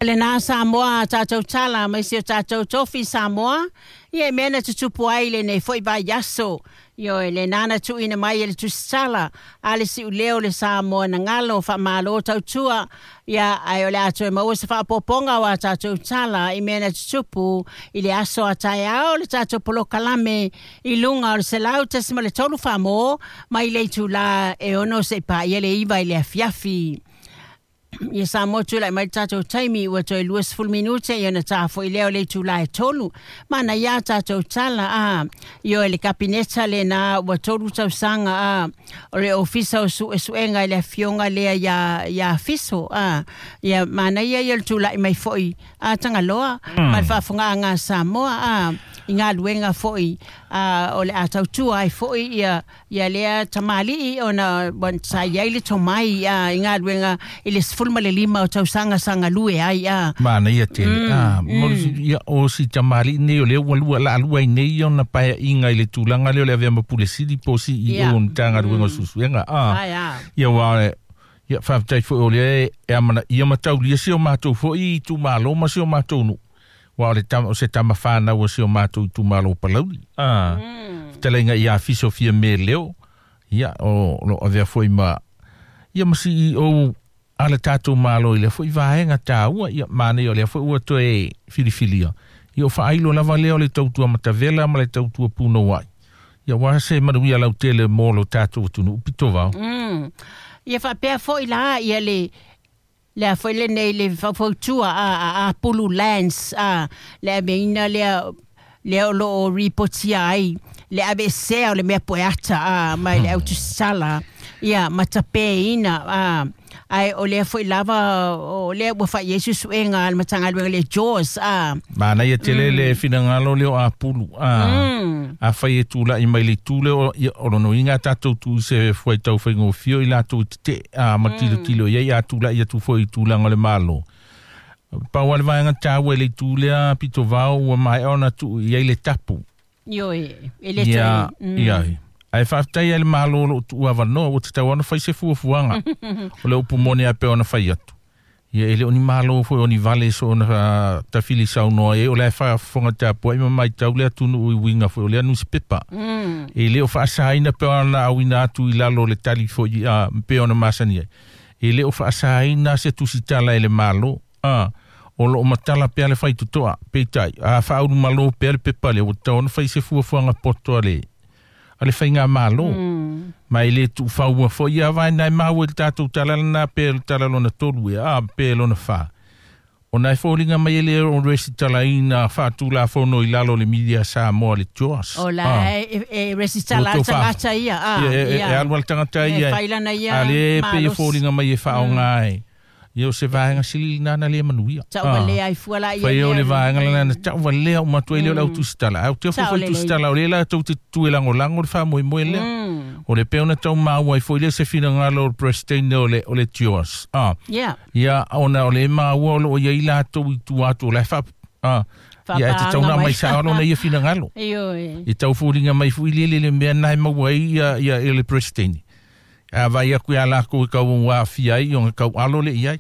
Lena Samoa tatou tala mai si o tatou tofi Samoa ia e mea na tutupu ai lenei foi vaiaso. Ioe, lena na tuuina mai e le tusitala a le siuleo le Samoa na galo faamalo tautua ia ae o le a toe maua se faaopoopoga o a tatou tala i mea na tutupu i le aso a taeao le tatou polokalame i luga o le 100.3 Faamo mai le itulā e 6 seia paia le 9 i le afiafi. Ia Samoa tulai mai le tatou taimi ua toe 20 minute ia ona ta foi lea o le itulā e 3. Manaia a tatou tala a ioe le Kapineta lena ua 3 tausaga a o le Ofisa o Suesuega i le afioga lea ia Fiso a ia manaia ia le tulai mai foi a Tagaloa ma le faafofogaaga a Samoa a i galuega foi a o le a tautua ai foi ia Ia lea tamalii ona sa i ai le tomai a i galuega i le 15 o tausaga sa galue ai a. Manaia tele. A, ia, o si tamalii nei o lea ua lua, la lua ai nei ona paeaiga i le tulaga lea o le avea ma Pule Sili po o CEO o le Matagaluega o Suesuega. A, ia aua ia faafetai foi o lea e amanaia ma taulia si o matou foi itumalo ma si o matou nuu. Aua o le tama, o se tama fanau a si o matou itumalo o Palauli. A, fetalaiga ia Fiso Fiame Leo, ia, o lo o avea foi ma, ia ma CEO a le tatou Malo i lea foi vaega taua, ia, manaia o lea foi ua toe filifilia. Ia, o faailo lava lea o le tautua matavela ma le tautua punouai. Ia, aua se manuia lautele mo lo tatou atunuu pitovao. Ia faapea foi la ia le lea foi lenei le faufautua a Apulu Lands a le aveina lea lea o lo o ripotia ai le aveesea o le mea poeata a mai le autusala ia ma tapeina a ae o lea foi lava o lea ua fai i ai suesuega a le Matagaluega le JAWS a. Manaia tele le finagalo lea o Apulu a afai e tulai mai le itu lea o, ia, o lona uiga a tatou tuu i se fuaitau faigofie o i latou i tete'e a ma tilotilo i ai a tulai atu foi i tulaga o le Malo. Pau lava le vaega taua i le itu lea pitovao ua maea ona tuu i ai le tapu. Ioe, e le toe. Ia, ae faafetai i le Malo o lo o tuu avanoa, ua tatau lava ona fai se fuafuaga. O le upu moni lava e pei ona fai atu. Ia, e le o ni Malo foi o ni vale soona tafili saunoa i ai, o la e faafofoga tapuai ma matau le atunuu i uiga foi o lea nusipepa. E le o faasaina pe ona auina atu i lalo o le tali foi a pe ona masani ai. E le o faasaina se tusitala e le Malo. A, o lo o matala pea le faitotoa, peitai, a faaulumalo pea le pepa lea, ua tatau ona fai se fuafuaga poto a le a le faigamalo. Ma e le tuufaua foi ia vaega e maua i le tatou tala lena pe le tala lona tolu ea, a pe lona fa. Ona e foliga mai e le o resitalaina faatulafono i lalo o le Media Samoa le JOS. O la e resitala le tagata ia. A, e alu le tagata ia. E fai lana ia A le pei e foliga mai e faaaoga e. Ia o se vaega sili lena na le manuia. Tauvalea ai fua la ia. Fai o le vaega lena na tauvalea uma atu ai lea o le au tusitala. Ae ou te ofo foi tusitala o lea la tou te tutu e lagolago le faamoemoe lea. O le pei ona tau maua ai foi lea se finagalo o le President o le o le JOS. Ah. Ia ona o le maua o lo o i ai latou i tua atu o la e faa Ia e tatau ona aumai sao lona ia finagalo. Ioe. E tau foliga mai foi lele le mea na e maua ai ia ia le President. A vaai atu ia lakou e tau aafia ai, ona tau alo lea i ai.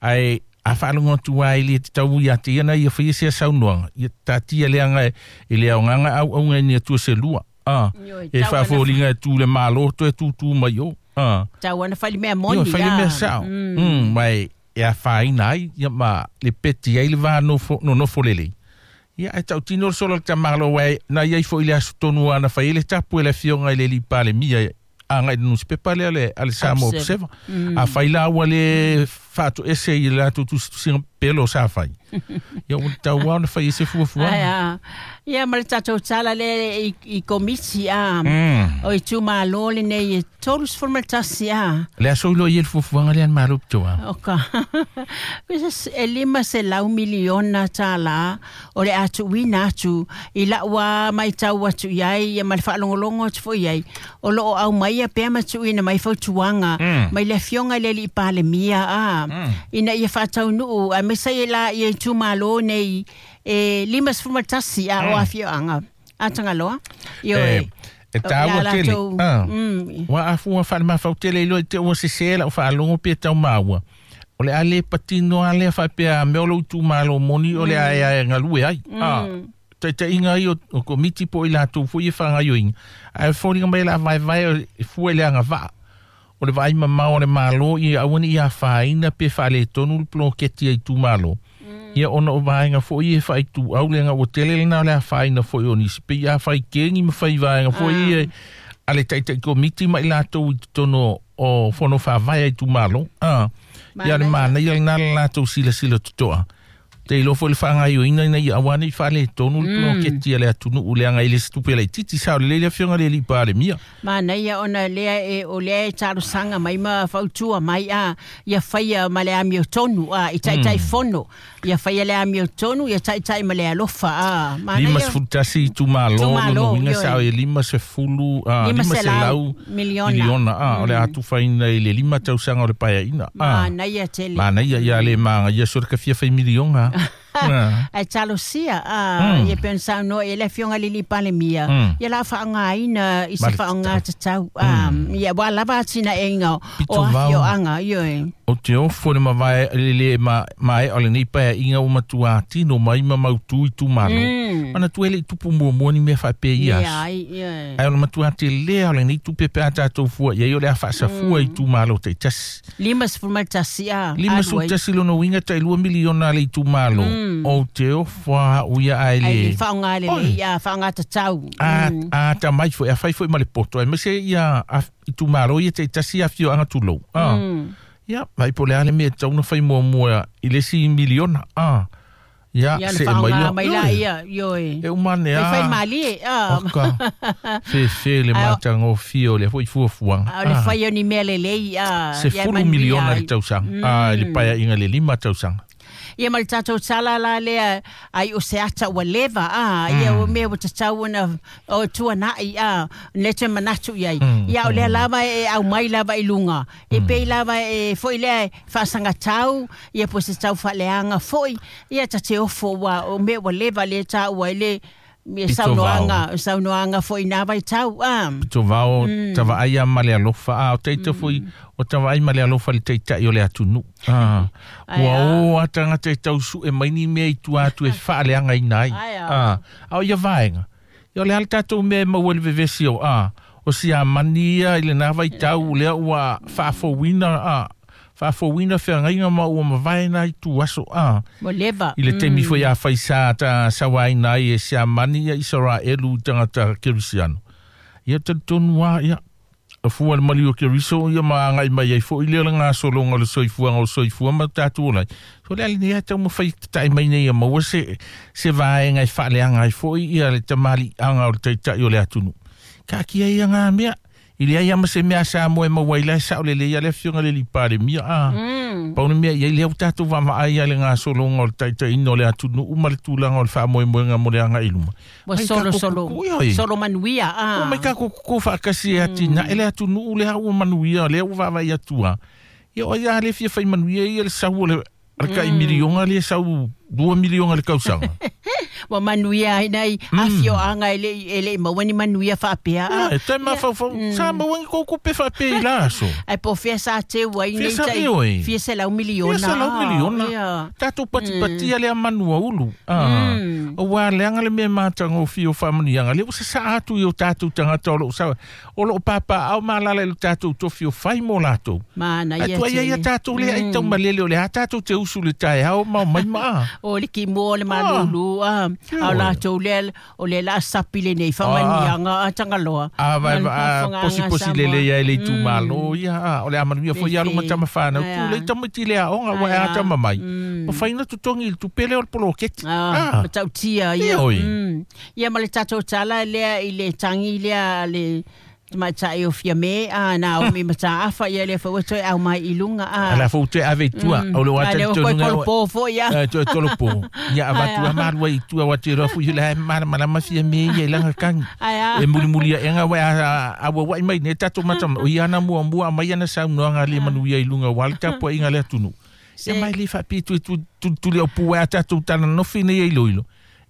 Ae a faalogo atu lava e le tatau ia te ia na ia faia sea saunoaga, ia taatia leaga e le aoga na auauna i ni atua se lua. E faafoliga e tu le Malo toe tūtū mai o. Tau ana fai le mea moni. Ia, fai le mea sao. Ma e afaina ai, ia ma le peti ai le va nonofo lelei. Ia, ae tautino le solo a le tamalo, aua na i ai foi i le aso tonu na fai ai le tapu e le Afioga i le Alii Palemia agai i le nusipepa lea a le Samoa Observer. Afai la ua le faatoese i le latou tusitusiga pelo sa fai, ia ua tatau lava ona fai ai se fuafuaga. Ia ma le tatou tala lea i Komiti a o itumalo lenei e 31 a. Le aso iloa i ai le fuafuaga lea a le Malo pito a. O ka e $500 miliona tālā o le a tuuina atu i lau a matau atu i ai ma le faalogologo atu foi i ai, o lo o aumaia pea ma tuuina mai fautuaga mai le Afioga i le Alii Palemia a ina ia faataunuu aemaise ai la ia itumalo nei e 51 a o afioaga a Tagaloa. Ioe. E tāua tele. Ua afua faalemafau tele iloa i te ua sesē lau faalogo pe tau maua. O le a le patino a lea faapea mea o lou itumalo moni o le a e galue ai. Taitaiga ia o komiti po o i latou foi e faagaioiga ae foliga mai la vaevae e fua i le agavaa o le vaai mamao o le Malo ia aua ne i afaina pe faaletonu le poloketi a itumalo. Ia ona o vaega foi e faaituau leaga ua tele lena o le afaina foi o nisi pei a fai kegi ma fai vaega foi ia a le taitai komiti ma i latou i totonu o fono faavae a itumalo. Ia le manaia lena le latou silasila totoa. Te iloa foi le faagaioina ina ia aua nei faaletonu le poloketi a le atunuu leaga i le se tupe laitiiti sao lelei le afioga le alii Palemia. Manaia ona lea e o lea e talosaga mai ma fautua mai a ia faia ma le amiotonu a i taitai fono ia faia le amiotonu ia taitai ma le alofa a manaia 51 itumalo lona uiga sao e 500 miliona o le atufaina i le 5 tausaga o le paeaina. Manaia tele. Manaia ia le magaia so le kafia fai miliona. Ai talosia ia pensa no e le afioga le alii Palemia ia la faaaogaina i se faaaoga tatau ia ua lava atinaega o afioaga ioe. O te ofo le mavae le mae o lenei paeaiga ua matua tino mai ma mautu itumalo. Mana tu ele tupu muamua ni mea faapea ia aso. Ai o le matua telea o lenei tupe pe a tatou fua iai o le a faasafua itumalo taitasi. 51 a. 51 lona uiga tailua miliona a le itumalo. O te ofo a uia ai le. Ai faaaoga lelei ia faaaoga tatau. A tamai foi a fai foi ma le poto ai mese ia itumalo ia taitasi afioaga tulou. Ia, vai po le ale mea tau na fai muamua i le isi miliona. Ia, se e mai lea. Mai la ia, ioe. E umane a. E fai malie. Oka. Fefe le matagofie o le foi fuafuaga. O le fai o ni mea lelei. Se 10 miliona le tausaga. I le paeaiga le 5 tausaga. Ia ma le tatou tala la lea ai o se ata ua leva ia o mea ua tatau ona o tuanai le te manatu iai. Ia o lea lava e au mai lava i luga. E pei lava e foi lea faasagatau ia po se tau faaleaga foi. Ia ta te ofo ua o mea ua leva le taua i le saunoaga foi na vaitau. Pito vao tavaai ma le alofa o teita foi o tavaai ma le alofa le taitai o le atunuu. Ua o a tagata e tausu'e mai ni mea i tua atu e faaleagaina ai. A o ia vaega ia o le a le tatou mea e maua i le vevesi o o siamani ia i lena vaitau lea ua faafouina faafouina feagaiga ma ua mavae na i tu aso ua leva i le taimi foi a faisa ta sauaina ai e siamani ia Isaraelu i tagata kerisiano. Ia talitonu a ia fua le maliu o Keriso ia ma agai mai ai foi lea le gasologa o le soifuaga o le soifua ma tatou ola ai. So le a lenei a taumafai tatai mai nei ia maua se vaega e faaleaga ai foi ia le tamaliiaga o le taitai o le atunuu. Kaakia ia ngā mea. I le ai ama se mea sa moe maua i lae sao lelei a le afioga le alii Palemia. Pau le mea ia i lea ua tatou vaavaai ai le gasologa o le taitaiina o le atunuu ma le tulaga o le faamoemoega mo le agai i luma. Ua solo solo solo manuia. Mai takou koko faakasi e atinae le atunuu lea ua manuia lea ua vaavaai atu a. Ia o ai a le fia fai manuia ia le sau o le kai miliona le sau 2 miliona le tausaga. Ua manuia ai nei afioaga e le maua ni manuia faapea. E te mafaufau sa maua ni kou kupe faapea i la aso. Ai po fea sa teu ai nei tai fia selau miliona. Fia selau miliona. Tatou patipatia lea manu aulu. Aua leaga le mea matagofie o faamanuiaga lea ua sasaa atu i o tatou tagata o loo sa o loo papaao ma alala i lo tatou tofi o fai mo latou. Manaia Ai tuai ai ia tatou lea ai taumalele o le a tatou te usu le taeao ma o mai maa. O le ki mo le malulu a latou lea o le la sapi le nei faamanuiaga a Tagaloa. A vai posi posi lele ia i le itumalo ia o le amanuia foi alu ma tamafanau tu le tamaiti le aoga ua e atama mai. Ma faina totogi i le tupe lea o le poloketi. Matautia ia. Ia ma le tatou tala lea i le tangi lea le tamaitai o Fiame na o mi mataafa ia le foi toe au mai i luga Ala fou toe ave i tua o le ata tonu nga kolopo foi ia toe kolopo ia avatu a malua i tua wa te roa foi le malamalama Fiame ia i langa kangi e mulimuli e nga wa a wa mai ne tatou mata o ia na muamua mai ana saunoaga le manuia i luga wa le tapuaiga le atunuu. Ia mai le faapitu tu le opu a tatou talanofi nei e iloilo.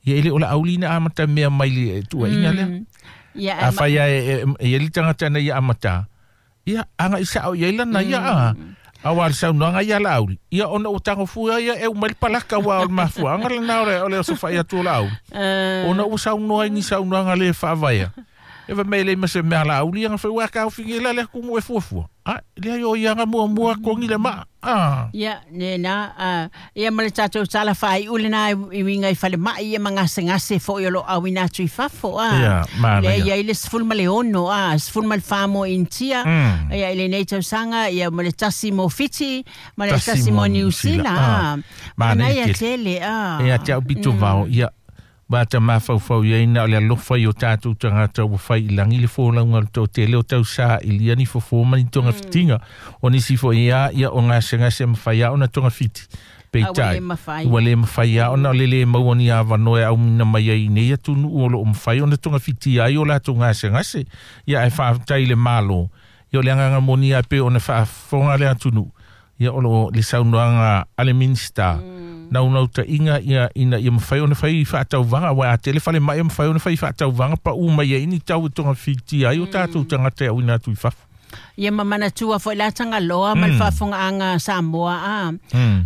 Ia ele o la aulina amata mea mai le tuaiga lea. Ia a fai e e li tagata nei ia amata. Ia anga i sao ia lana ia Auā le saunoaga ia a Laauli, ia ona ua tagofua ia e uma ai le palaka aua o le mafuaaga lena o le osofai atu o Laauli, ona ua saunoa i ni saunoaga le faavaea. E fai mai e leai ma se mea a Laauli ia na fai, ua taofi la le atunuu e fuafua. A, leai o ia na muamua togi le maa. A. Ia, lena, ia ma le tatou tala faaiu lena e uiga i falemai ia ma gasegase foi o lo o auina atu i fafo, a. Ia, manaia. Lea e i ai le 16, a, 14 mo Initia, ia i lenei tausaga, ia ma le 1 mo Fiti, ma le 1 mo Niu Sila, a. Manaia tele, tele, a. Ia te au pito vao, ia, Ua ata mafaufau i ai na o le alofa i o tatou tagata ua fai i lagi le folauga o le toatele o tausaili ni fofo ma ni togafitiga. O nisi foi a ia o gasegase e mafai a ona togafiti. Peitai, ua le mafai a ona o le le maua ni avanoa e auina mai ai i nei atunuu o lo o mafai ona togafitia ai o latou gasegase. Ia ae faafetai i le Malo, ia o le agaga moni a pei ona faafofoga le atunuu, ia o lo o le saunoaga a le Minisita, naunautaiga ia ina ia mafai ona fai faatauvaga, aua a tele falemai e mafai ona fai faatauvaga paʻu mai ai ni tau e togafitia ai o tatou tagata e auina atu i fafo. Ia ma manatua foi la Tagaloa ma le faafofogaaga a Samoa a.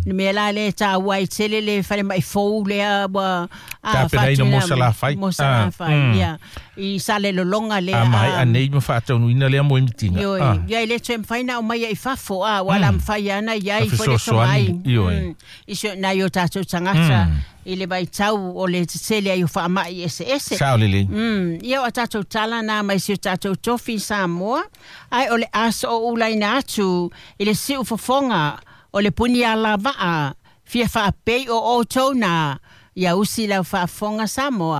Le mea la lea e taua ai tele le falemai fou lea ua tapenaina mo Salafai. Mo Salafai, ia. I Salelologa lea. A maea nei ma faataunuuina lea moemitiga. Ioe, ia e le toe mafai ona aumaia i fafo, a, ua la mafai lava ona i ai foi le tomai i si nai o tatou tagata i le vaitau o le tetele ai o faamai eseese. Sao lelei. Ia o a tatou tala na mai si o tatou tofi Samoa, ae o le a sooulaina atu i le siufofoga o le puni alavaa fia faapei o outou na, ia usi lau faafofoga Samoa.